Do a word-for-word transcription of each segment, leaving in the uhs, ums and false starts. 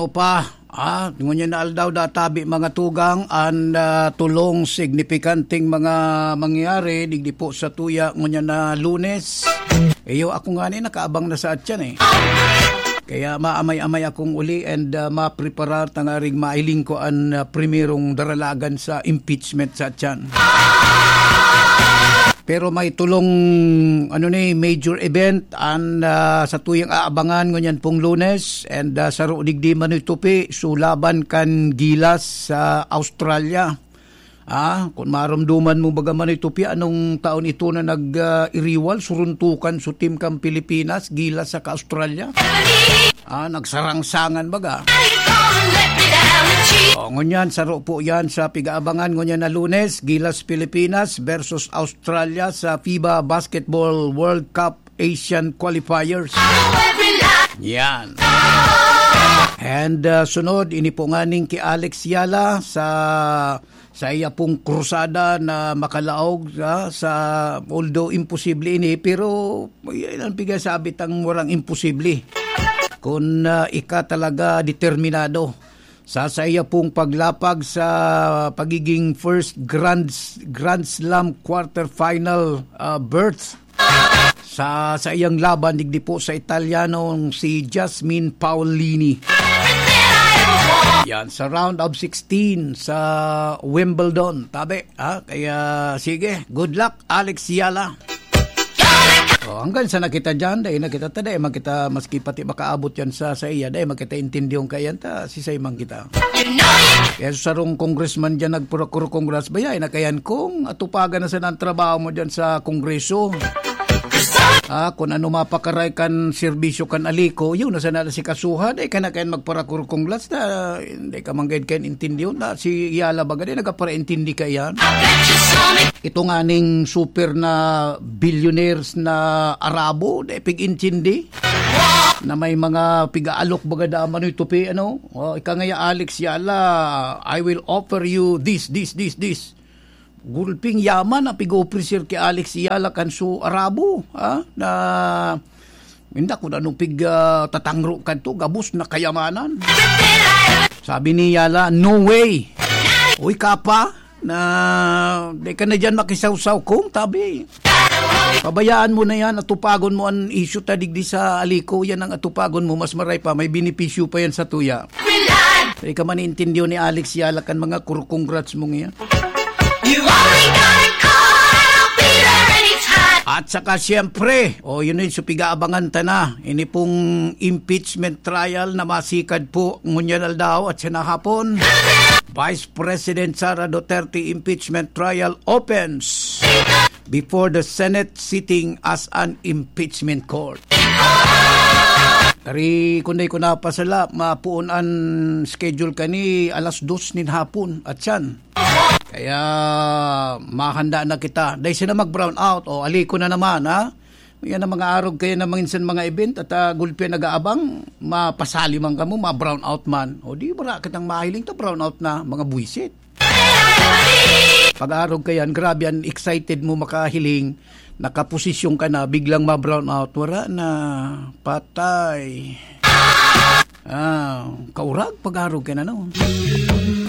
Opa, ah, ngunyan na aldaw databi, mga tugang, an, ah, tulong signipikanting mga mangyayari digdi po sa tuya ngunyan na Lunes. Iyo, ako nga ni nakaabang na sa atyan, eh. Kaya maamay-amay akong uli and, ah, mapreparar tangaring mailing ko an, ah, primerong daralagan sa impeachment sa atyan. Pero may tulong, ano ni, major event an, ah, sa tuyang aabangan ngunyan pong Lunes, and, ah, saro digdi Manoy Tupi, so laban kan Gilas sa Australia. Ah, kun maromdoman mo baga Manoy Tupi, anong taon ito na nag, ah, iriwal, suruntukan so team kan Pilipinas, Gilas saka Australia? Ah, nagsarangsangan baga. O, ngunyan, saro po yan sa pigaabangan ngunyan na Lunes, Gilas Pilipinas versus Australia sa fiba Basketball World Cup Asian Qualifiers. Yan. And, uh, sunod, ini po nganing ki Alex Yala sa, sa iya pong krusada na makalaog, ah, sa, although imposible ini, pero yan ang pigasabi tang murang imposible. Kun, ah, ika talaga determinado sa, sa iya pong paglapag sa pagiging first Grand, Grand Slam quarterfinal, ah, berth sa, sa iyang laban digdi po sa Italianong si Jasmine Paolini. Yan, sa round of sixteen sa Wimbledon. Tabi, ha? Kaya, sige, good luck, Alex Yala. Oh, hanggang sa nakita dyan, dahil nakita ta, dahil makita, maski pati makaabot yan sa, sa iya, dahil makita intindihon ka yan, ta, si Simon kita. Kaya sa sarong congressman dyan, nagpuro-kuro congrats, bayay na kayan kung atupagan na sana ang trabaho mo dyan sa kongreso. Ah, kung ano mapakaray kan serbisyo kan Alico, yun na sana si kasuhan, eh, kana kayan magpara-kuro congrats na, hindi ka manggayad kayan intindihon na, si Yala baga, di nagaparaintindi ka yan. Ito nga ning super na billionaires na Arabo, di pig-intindi, na may mga piga-alok baga da Manoy Tupi, ano? O, ika ngaya, Alex Yala, "I will offer you this, this, this, this." Gulping yaman ang pig-offer ki Alex Yala kan su Arabo, ha? Na, hindi ko na nung pig, ah, tatangro kadto, gabos na kayamanan. Sabi ni Yala, "No way." Uy, kapa, na, di ka na dyan makisawsaw kung, tabi. Pabayaan mo na yan, atupagon mo an issue ta digdi sa Alico, yan ang atupagon mo, mas maray pa, may benepisyo pa yan sa tuya. Di ka man intindiyo ni Alex Yala kan mga kur-, congrats mong yan. You only gotta call, I'll be there anytime. At saka siyempre, o yun yun, so pigaabangan ta na, ini pong impeachment trial na masikad po ngunyan aldaw at sinahapon. Vice President Sara Duterte impeachment trial opens before the Senate sitting as an impeachment court. Ari, kung dai ko napasala, mapuon an schedule kani alas dos nin hapon, at siyan. Kaya mahanda na kita. Dai sila mag-brown out. O, Alico na naman, ha? Yan ang mga arog kaya na manginsan mga event at, ah, gulpi nag-aabang, mapasali man kamo, ma-brown out man. O di, wala kitang mahiling ta, brown out na, mga buwisit. Pag-arog ka yan, grabe, ang excited mo makahiling, nakaposisyon ka na, biglang ma-brown out, wala na, patay. Ah, kaurag, pag-arog ka na, no?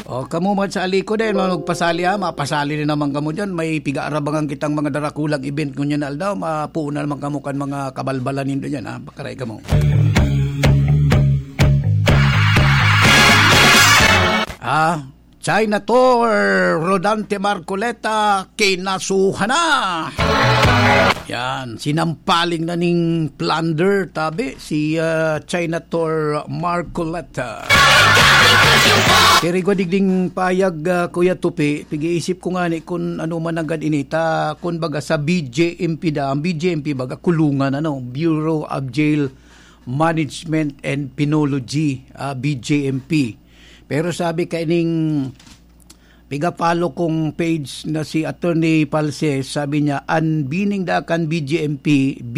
O, kamo man sa Alico din, mga magpasali, ha? Mapasali na naman kamo dyan. May pigaarabangan kitang mga darakulang event ngunyan na aldaw. Mapuon na naman kamo kan mga kabalbalan nindo dyan, ha? Pakaray kamo. Ah, China Tour, Rodante Marcoleta, kinasuhan na. Yan, sinampaling na ning plunder, tabi, si, ah, China Tour Marcoleta. Pero igwa digding payag, ah, Kuya Tupi, pag-iisip ko nga ni kung ano man agad inita, kung baga sa B J M P da, ang B J M P baga kulungan, ano, Bureau of Jail Management and Penology, ah, B J M P. Pero sabi kaining piga-follow kong page na si Attorney Palses, sabi niya, "An bining da kan B J M P, B,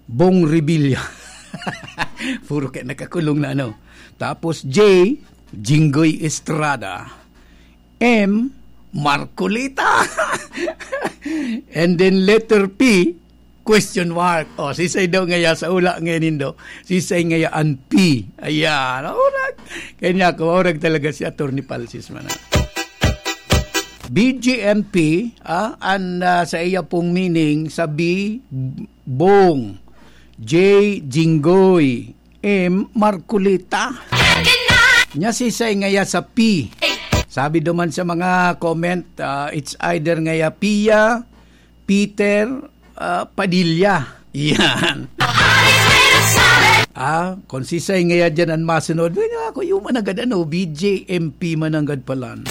Bong Revilla." Puro kaya nakakulong na, ano. Tapos J, Jinggoy Estrada. M, Marcoleta. And then letter P, Question mark. O, sisay daw ngaya sa hula ngayon nindo? Sisay ngaya an P? Ayan. Orag. Kaya niya ako, orag talaga si Attorney Palsis man. B G M P, ah, an, ah, sa iya pong meaning, sa B, Bong, J, Jinggoy, M, Marcoleta. Nya sisay ngaya sa P? Sabi duman sa mga comment, ah, it's either ngaya Pia, Peter, ah, Padilla. Yan. Ah, kung sisay ngaya dyan ang masunod, well, ako yung managad, ano, B J M P mananggad palan.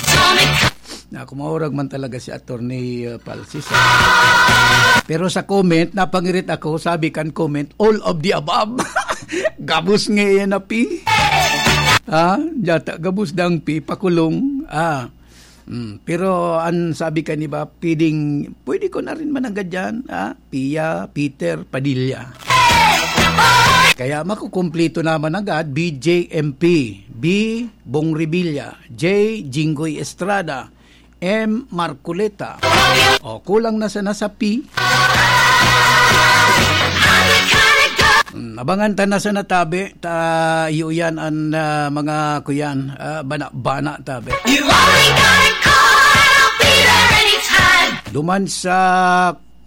Na, kumaurag man talaga si Attorney, uh, Palsis. Pero sa comment, napangirit ako, sabi kan comment, "All of the above." Gabos nga yan na P. Ha? Yata, gabos dang P, pakulong. Ah. Mm, pero ang sabi ka ni ba, pwedeng, pwede ko na rin mananggad dyan, ha? Pia, Peter, Padilla. Kaya makukumpleto naman agad, B J M P, B, Bong Revilla, J, Jinggoy Estrada, M, Marcoleta. O, kulang na sana sa P. Hmm, abangan ta na sana tabi, ta iyo yan an, ah, mga kuyan, ah, bana-bana tabi. You only gotta call Peter anytime. Duman sa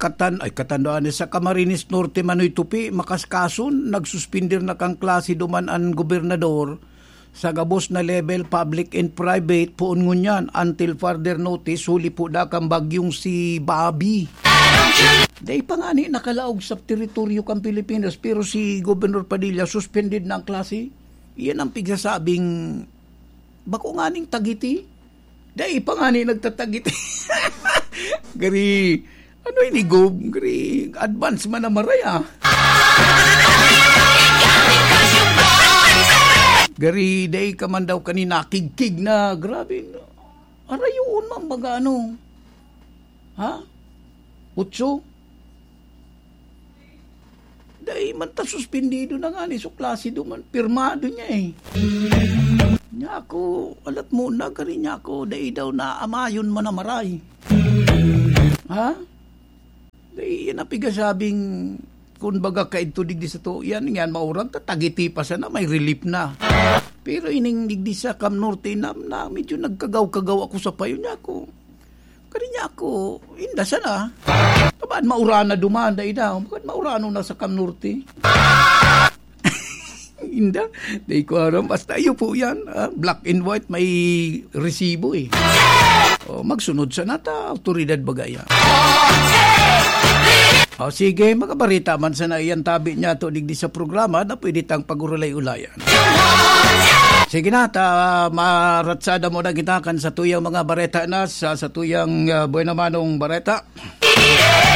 Catan-, ay, Catanduanes, sa Camarines Norte, Manoy Tupi, makaskason, nagsuspender na kan klase duman an gobernador sa gabos na level, public and private, poon ngunyan, until further notice, huli po da kan bagyong si Bobby. Dai pa ngani nakalaog sa teritoryo kan Pilipinas, pero si Governor Padilla, suspended na ang klase. Iyan ang pigsasabing, bako nganing tagiti. Dai pa ngani nagtatagiti. Gari, ano ini, Gob? Gari, advance man na maray, ah. Gari, dai ka man daw kani nakigkig na, grabe. Arayoon man baga, ano? Ha? Otso? Dai man ta suspendido na ngani so klase duman. Pirmado niya, eh. Niya ako, alat mo na, gari niya ako, dai daw na amayon man na maray. Ha? Dai, yan ang pigasabing, kun baga kaidto digdi sa to, yan, yan, maurag, tatagiti pa sana, may relief na. Pero ining digdi sa Cam Norte, na, na medyo nagkagaw-kagaw ako sa payo niya ako. Kani niya ako, inda sana. Taban maurana duman, dai daw. Bakit maurano na sa Cam Norte? Inda, dai ko aram. Basta iyo po yan, ah, black and white, may resibo eh. O, magsunod sana ta, autoridad baga yan. O, sige, mga bareta man sana iyan tabi niya to digdi sa programa na pwede tang pag-urulay-ulayan. Sige na, ta, maratsada mo na kita kan sa tuyang mga bareta na sa, sa tuyang, ah, buena manong bareta.